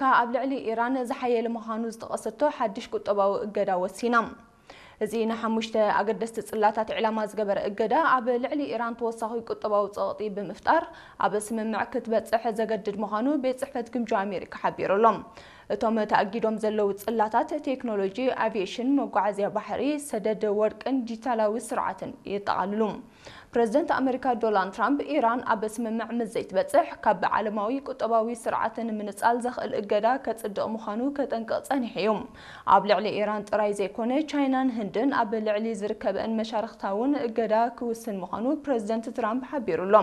ኣሜሪካ ኣብ ልዕሊ ኢራን ዝሓየለ ምዃኑ ዝጠቐሰቶ ሓድሽ ቁጠባዊ እገዳ ወሲና። እዚ ንሓሙሽተ ኣገደስቲ ጽላታት ዕላማ ዝገበረ እገዳ፣ ኣብ ልዕሊ ኢራን ተወሳኺ ቁጠባዊ ጸቕጢ ብምፍጣር፣ ኣብ ስምምዕ ክትበጽሕ ዘገድድ ምዃኑ ቤት ጽሕፈት ግምጃ ኣሜሪካ ሓቢሩ ኣሎ። እቶም ተኣጊዶም ዘለዉ ጽላታት፣ ቴክኖሎጂ፣ ኣቪየሽን፣ መጓዓዝያ ባሕሪ፣ ሰደድ ወርቅን ዲጂታላዊ ስርዓትን የጠቓልሉ። ፕረዚደንት ኣሜሪካ ዶናልድ ትራምፕ፣ ኢራን ኣብ ስምምዕ ምስ ዘይትበጽሕ፣ ካብ ዓለማዊ ቁጠባዊ ስርዓት ንምንጻል ዘኽእል እገዳ ከጽድቕ ምዃኑ ከጠንቅቕ ጸኒሑ እዩ። ኣብ ልዕሊ ኢራን ጥራይ ዘይኮነ፣ ቻይናን ህንድን ኣብ ልዕሊ ዝርከበን መሻርኽታ እውን እገዳ ክውስን ምዃኑ ፕረዚደንት ትራምፕ ሓቢሩ ኣሎ።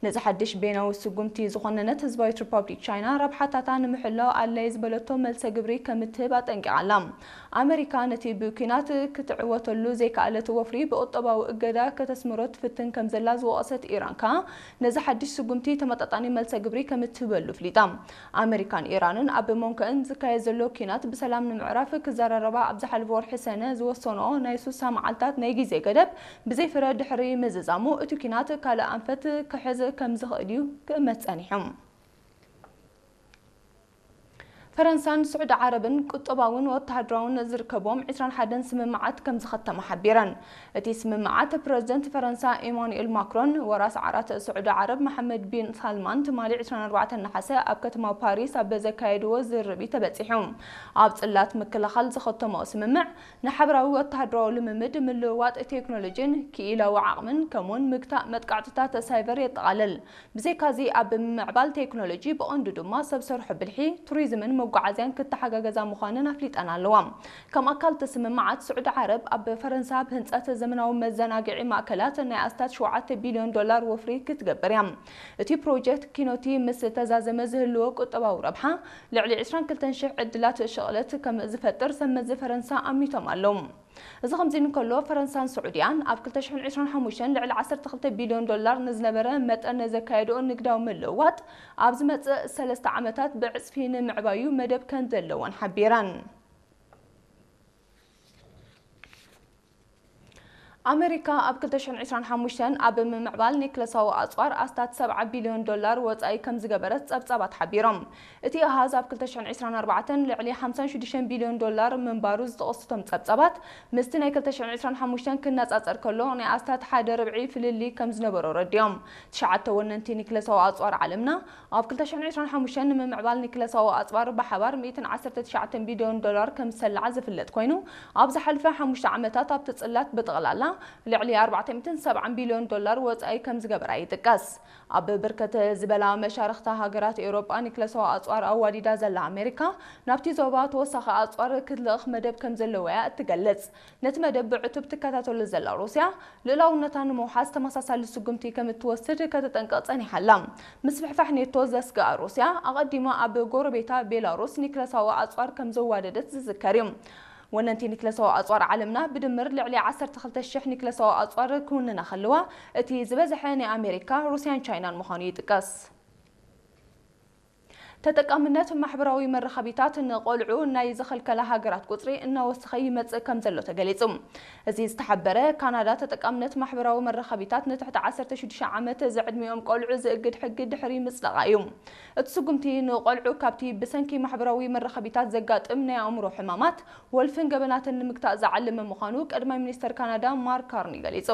ነዚ ሓድሽ ቤናዊ ስጉምቲ ዝኾነነት ህዝባዊት ሪፓብሊክ ቻይና፣ ረብሓታታ ንምሕላው ኣድላዪ ዝበለቶ መልሰ ግብሪ ከምትህብ ኣጠንቂቓ ኣላ። ኣመሪካ ነቲ ብኲናት ክትዕወተሉ ዘይከኣለት ወፍሪ ብቁጠባዊ እገዳ ከተስምሮ ትፍትን ከም ዘላ ዝወቐሰት ኢራን ከኣ፣ ነዚ ሓድሽ ስጉምቲ ተመጣጣኒ መልሰ ግብሪ ከምትህበሉ ኣፍሊጣ። ኣመሪካን ኢራንን ኣብ መንጎአን ዝካየድ ዘሎ ኲናት ብሰላም ንምዕራፍ ክዘራረባ ኣብ ዝሓለፈ ወርሒ ሰነ ዝወሰንኦ ናይ ሱሳ መዓልታት ናይ ግዜ ገደብ ብዘይ ፍረ ድሕሪ ምዝዛሙ፣ እቲ ኲናት ካልእ ኣንፈት ክሕዝ ከም ዝኽእል እዩ ክእመት ጸኒሑ። ፈረንሳን ስዑዲ ዓረብን ቁጠባውን ወተሃደራውን ዝርከብዎም ዕስራን ሓደን ስምምዓት ከም ዝኸተማ ሓቢረን። እቲ ስምምዓት፣ ፕረዚደንት ፈረንሳ ኢማኑኤል ማክሮን፣ ወራስ ዓራት ስዑዲ ዓረብ መሓመድ ቢን ሳልማን ትማሊ ዕስራን ኣርባዕተን ነሓሰ ኣብ ከተማ ፓሪስ ኣብ ዘካየድዎ ዝርርብ እዩ ተበጺሑ። ኣብ ጽላት ምክልኻል ዝኸተምኦ ስምምዕ፣ ንሓበራዊ ወተሃደራዊ ልምምድ፣ ምልውዋጥ ቴክኖሎጂን ክኢላዊ ዓቕምን፣ ከምኡውን ምግታእ መጥቃዕትታት ሳይበር የጠቓልል። ብዘይካዚ፣ ኣብ ምምዕባል ቴክኖሎጂ፣ ብቐንዱ ድማ ሰብ ሰርሖ ብልሒ፣ ቱሪዝምን መጓዓዝያን ክተሓጋገዛ ምዃነን ኣፍሊጠን ኣለዋ። ከም ኣካል እቲ ስምምዓት፣ ስዑዲ ዓረብ ኣብ ፈረንሳ ኣብ ህንጸት ዘመናዊ መዘናግዒ ማእከላት ናይ ኣስታት ሸውዓተ ቢልዮን ዶላር ወፍሪ ክትገብር እያ። እቲ ፕሮጀክት ኪኖቲ ምስ ተዛዘመ ዝህልዎ ቁጠባዊ ረብሓ፣ ልዕሊ ዕስራን ክልተን ሽሕ ዕድላት ሽቕለት ከም ዝፈጥር ሰብ መዚ ፈረንሳ ኣሚቶም ኣለዉ። እዚ ከምዚ እንከሎ፣ ፈረንሳን ስዑድያን ኣብ ክልተ ሽሕን ዕስራን ሓሙሽተን ልዕሊ ዓሰርተ ክልተ ቢልዮን ዶላር ንዝነበረ መጠን ዘካየድኦ ንግዳዊ ምልውዋጥ፣ ኣብ ዝመጽእ ሰለስተ ዓመታት ብዕጽፊ ንምዕባዩ መደብ ከም ዘለወን ሓቢረን። ኣመሪካ ኣብ ክልተ ሽሕን ዕስራን ሓሙሽተን ኣብ ምምዕባል ኒክለሳዊ ኣጽዋር ኣስታት ሰብዓ ቢልዮን ዶላር ወጻኢ ከም ዝገበረት ጸብጻባት ሓቢሮም። እቲ ኣሃዝ ኣብ ክልተ ሽሕን ዕስራን ኣርባዕተን ልዕሊ ሓምሳን ሽዱሽተን ቢልዮን ዶላር ምንባሩ ዝጠቐሱ እቶም ጸብጻባት፣ ምስቲ ናይ ክልተ ሽሕን ዕስራን ሓሙሽተን ክነጻጸር ከሎ፣ ናይ ኣስታት ሓደ ርብዒ ፍልልይ ከም ዝነበሮ ረዲኦም። ትሽዓተ ወነንቲ ኒክለሳዊ ኣጽዋር ዓለምና፣ ኣብ ክልተ ሽሕን ዕስራን ሓሙሽተን ንምምዕባል ኒክለሳዊ ኣጽዋር ብሓባር ሚእትን ዓሰርተ ትሽዓተን ቢልዮን ዶላር ከም ዝሰልዓ ዝፍለጥ ኮይኑ፣ ኣብ ዝሓለፈ ሓሙሽተ ዓመታት ኣብቲ ጽላት ብጠቕላላ ልዕሊ ኣርባዕተ ሚእትን ሰብዓን ቢልዮን ዶላር ወጻኢ ከም ዝገበራ ይጥቀስ። ኣብ ብርክት ዝበላ መሻርኽታ ሃገራት ኤውሮጳ ኒክለሳዊ ኣጽዋር ኣዋዲዳ ዘላ ኣሜሪካ፣ ናብቲ ዞባ ተወሳኺ ኣጽዋር ክትልእኽ መደብ ከም ዘለዋ እያ እትገልጽ። ነቲ መደብ ብዕቱብ ትከታተሎ ዘላ ሩስያ፣ ልኡላውነታ ንምውሓስ ተመሳሳሊ ስጉምቲ ከም እትወስድ ከተጠንቅቕ ጸኒሓ ኣላ። ምስፍሕፋሕ ኔቶ ዘስግኣ ሩስያ፣ ኣቐዲማ ኣብ ጎረቤታ ቤላሩስ ኒክለሳዊ ኣጽዋር ከም ዘዋደደት ዝዝከር እዩ። ወነንቲ ኒክለሳዊ ኣጽዋር ዓለምና ብድምር ልዕሊ ዓሰርተ ክልተ ሽሕ ኒክለሳዊ ኣጽዋር ክውንና ከለዋ፣ እቲ ዝበዝሐ ናይ ኣሜሪካ፣ ሩስያን ቻይናን ምዃኑ ይጥቀስ። ተጠቃምነት ማሕበራዊ መራኸቢታት ንቆልዑ ናይ ዝኸልከላ ሃገራት ቁጽሪ እናወሰኸ ይመጽእ ከም ዘሎ ተገሊጹ። እዚ ዝተሓበረ፣ ካናዳ ተጠቃምነት ማሕበራዊ መራኸቢታት ንትሕቲ ዓሰርተ ሽዱሽተ ዓመት ዝዕድሚኦም ቆልዑ ዝእግድ ሕጊ ድሕሪ ምጽደቓ እዩ። እቲ ስጉምቲ ንቆልዑ ካብቲ ብሰንኪ ማሕበራዊ መራኸቢታት ዘጋጥም ናይ ኣእምሮ ሕማማት፣ ወልፍን ገበናትን ንምግታእ ዝዓለመ ምዃኑ ቀዳማይ ሚኒስተር ካናዳ ማርክ ካርኒ ገሊጹ።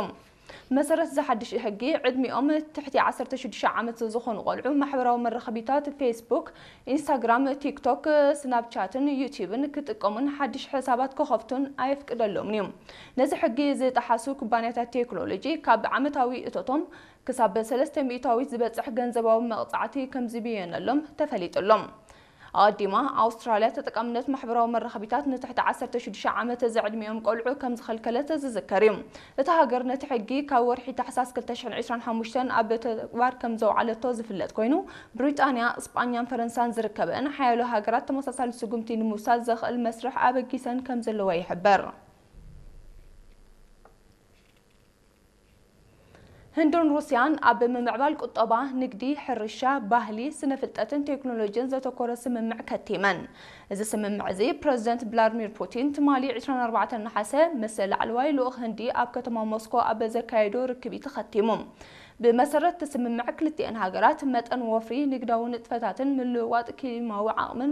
መሰረት እዚ ሓድሽ ሕጊ፣ ዕድሚኦም ትሕቲ ዓሰርተ ሽዱሽተ ዓመት ዝኾኑ ቆልዑ ማሕበራዊ መራኸቢታት ፌስቡክ፣ ኢንስታግራም፣ ቲክቶክ፣ ስናፕቻትን ዩትዩብን ክጥቀሙን ሓድሽ ሕሳባት ክኸፍቱን ኣየፍቅደሎምን እዩ። ነዚ ሕጊ ዝጠሓሱ ኩባንያታት ቴክኖሎጂ ካብ ዓመታዊ እቶቶም ክሳብ ሰለስተ ሚእታዊት ዝበጽሕ ገንዘባዊ መቕጻዕቲ ከም ዝብየነሎም ተፈሊጡ ኣሎ። ኣቐዲማ፣ ኣውስትራልያ ተጠቃምነት ማሕበራዊ መራኸቢታት ንትሕቲ ዓሰርተ ሽዱሽተ ዓመት ዝዕድሚኦም ቆልዑ ከም ዝኸልከለት ዝዝከር እዩ። እታ ሃገር ነቲ ሕጊ ካብ ወርሒ ታሕሳስ ክልተ ሽሕን ዕስራን ሓሙሽተን ኣብ ተግባር ከም ዘውዓለቶ ዝፍለጥ ኮይኑ፣ ብሪጣንያ፣ ስጳኛን ፈረንሳን ዝርከበአን ሓያሎ ሃገራት ተመሳሳሊ ስጉምቲ ንምውሳድ ዘኽእል መስርሕ ኣበጊሰን ከም ዘለዋ ይሕበር። ህንድን ሩስያን ኣብ ምምዕባል ቁጠባ፣ ንግዲ፣ ሕርሻ፣ ባህሊ፣ ስነ ፍልጠትን ቴክኖሎጂን ዘተኮረ ስምምዕ ከቲመን። እዚ ስምምዕ እዚ ፕረዚደንት ቭላድሚር ፑቲን ትማሊ ዕስራን ኣርባዕተን ነሓሰ ምስ ላዕለዋይ ልኡኽ ህንዲ ኣብ ከተማ ሞስኮ ኣብ ዘካየዶ ርክብ እዩ ተኸቲሙ። ብመሰረት እቲ ስምምዕ ክልቲኤን ሃገራት መጠን ወፍሪ፣ ንግዳዊ ንጥፈታትን ምልውዋጥ ክሊማዊ ዓቕምን